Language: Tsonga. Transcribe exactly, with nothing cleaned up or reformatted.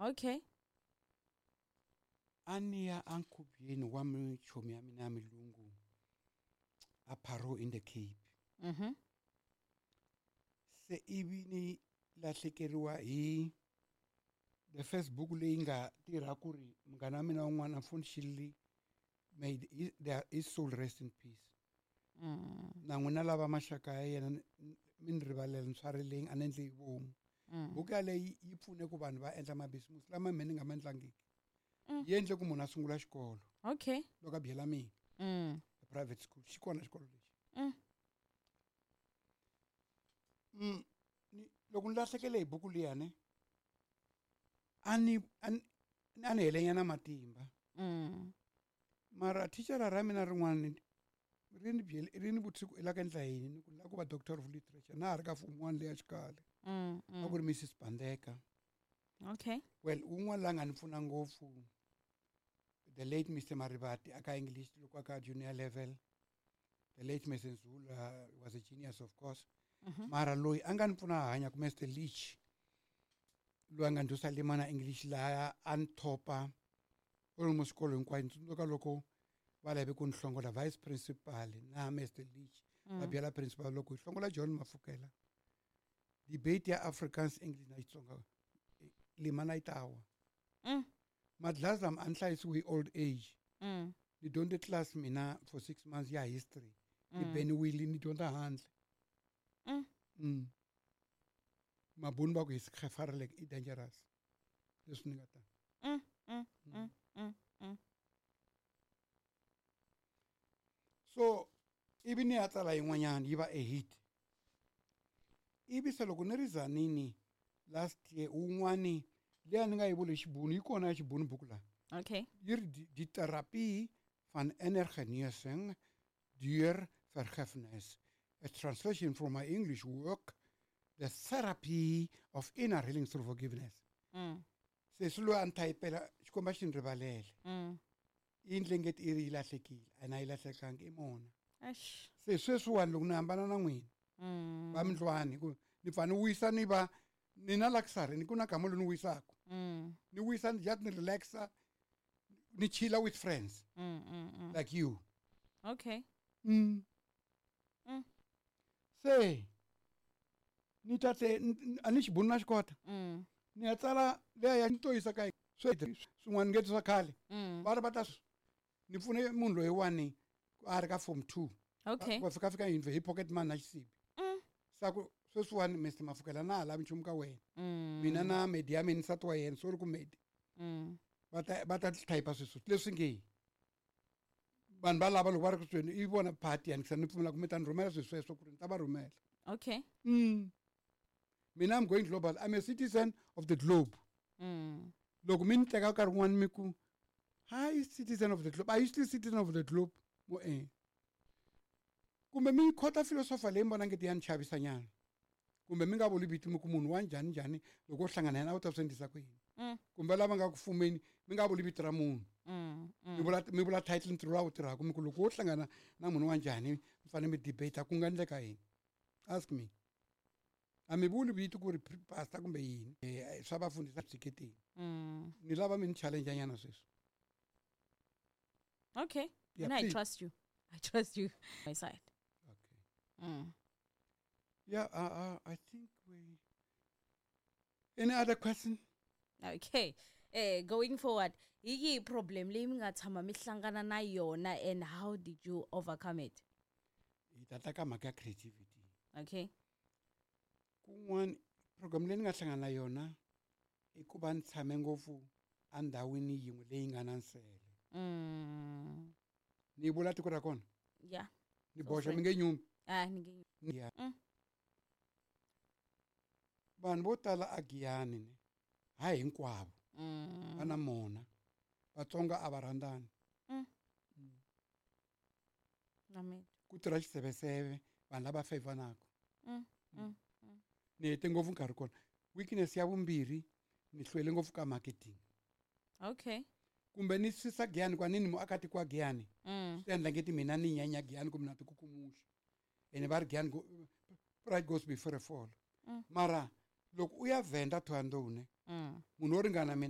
Okay. A ni ya enkhubyeni wa michomi ya mina ya milungu a Parow in the Cape. Mhm. Se ivi ni lahlekeriwa hi the first book leyi nga tirha ku ri munghana wa mina wun'wana unfortunately may his, his soul rest in peace. Mm. Na n'wina lava maxaka ya yena mi ni rivalela ni swarileng a ni endli hi vomu. Mm. Buku yaleyi yi pfune ku vanhu va endla mabisimusi lama me ni nga ma endlangiki. Mm. Yi endle ku munhu a sungula xikolo. Okay. Loko a byela mina. Mm. A private school. Xi kona xikolo lexi. Mm. Mm. Ni, loko ni lahlekele hi buku liya ne, a ni, a ni, a ni helenyana matimba. Mm. Mara thicara ra mina rin'wana ri ni byele, ri ni vutise ku i la ku endla yini, ni ku ni la ku va doctor of literature na ha ri ka form one leya xikhale. Mm, mm. A ku ri Missus Bandeka. Okay. Well, un'wana la nga ni pfuna ngopfu, the late Mister Marivati aka English loko aka junior level. The late Mister Nzula was a genius, of course. Mm-hmm. Mara loyi a nga ni pfuna hanya ku Mister Leach, loyi a nga ndyusa Limana English laha a ni thopa almost xikolo hinkwayo. Ni tsundzuka loko va lave ku ni hlongola vice principal na Mister Leach, Mm. va byela principal loko hi hlongola John Mafukela, debate ya Afrikaans English na Xitsonga Limana yi ta wa. Mm. Madlazi lama a ni hlayisiwe hi old age. Mm. Ni dyondze class mina for six months ya history. Ni Mm. beniwile ni dyondza handle. Mm. Mm. Mabunu va ku hi gevaarlik, i dangerous. Leswi ni nga ta. Mm, mm, mm, mm, mm. So ivi ni ya tsala yin'wanyana yi va a hit. Ivi se loko ni ri Zanini last year wun'wani leyi a ni nga yi vuli xibunu yi kona ya xibunu buku laha. Okay. Yi ri die, die therapie van inner genesing deur vergifnis. A translation from my English work, The Therapy of Inner Healing Through Forgiveness. Mm. Se swi loyi a ni thayipela Xikwembu a xi ni rivalele. Mm. I endle ngeti i ri yi lahlekile, a na yi lahlekangi i mona. Eish. Se sweswiwani loko ni hambana na n'wina, Mm. va mindlwani, ku ni pfa ni wisa ni va ni na luxury, ni ku na gama lowu ni wisaka. Mm. Ni wisa ni just ni relaxa, ni chilla with friends. Mm, mm, mm. Like you. Okay. Mm. Mm. Se ni ta te, n-, n-, a ni xibunu na xikota. Mm. Ni ya tsala leya ya ni to yisa ka swi swin'wana ngeti swa khale. Mm. Va ri va ta swi, ni pfune munhu loyiwani a ri ka form two. Okay. Va fika fika yini hi pocket money na xisibi. Mm. Sa ku sweswiwani Mister Mafukela na ha lavi nchumu ka wena. Mm. Mina na Medi ya mina nsati wa yena, sorry ku Medi. Mm. Va ta, va ta type sweswo leswi nge vanhu va lava loko va ri ku tweni i vona party ya ni pfumela ku mi ta ni rhumela swilo sweswo ku ri ni ta va rhumela. Okay. Mm. Mina I'm going global. I'm a citizen of the globe. Mm. Loko mi ni teka nkarhi wun'wani mi ku, hi citizen of the globe. Are you still citizen of the globe? Mo eh. Kumbe mi khota philosopher leyi mi vona ngeti ya ni chavisa nyana. Kumbe mi nga vuli vito mi ku munhu wa njhani njhani loko u hlangana na yena u ta swi endlisa ku yini. Mm. Kumbe lava nga ku fumeni mi nga vuli vito ra munhu. Mm, mm. Mi vula, mi vula title ntirho lowu a wu tirhaka mi ku loko wo hlangana na munhu wa njhani mi fanele mi debate ku nga endleka yini. Ask me. A mi vuli vito ku ri pastor kumbe yini. Eh, swa vafundhisi tshiketeni. Mm. Ni lava mi ni challenge nyana sweswi. Okay. Yeah, And I please. trust you. I trust you. My side. Okay. Mm. Yeah, uh, uh, I think we... Any other question? Okay. Eh, going forward, hi yihi problem leyi mi nga tshama mi hlangana na yona and how did you overcome it? Hi ta ta ka mhaka ya creativity. Okay. Kun'wana program leyi ni nga hlangana na yona i ku va ni tshame ngopfu endhawini yin'we leyi nga na nsele. Mm. Ni vula tiko ra kona? Yeah. Ni So boxa free. mi nge nyumi. Ah, ni nge nyumi. Yeah. Mm. Vanhu vo tala a Giyani ne, hayi hinkwavo. Mm. Va na mona. Vatsonga a va rhandzani. Mm. Mm. Amen. Ku tirha xiseveseve vanhu lava favanaka. Mm. Mm. Mm. Ni hete ngopfu nkarhi kona. Weakness ya vumbirhi ni hlwele ngopfu ka marketing. Okay. Kumbe ni sisa Giyani kwa nini muakatiko wa Giyani? Mm. Swi endla ngeti mina ni nyanya Giyani kumbe na tikukumuxa. Ene va ri Giyani go, pride goes before a fall. Mm. Mara loko u ya Venda Thohoyandou ne, Mm. munhu wo ringana mina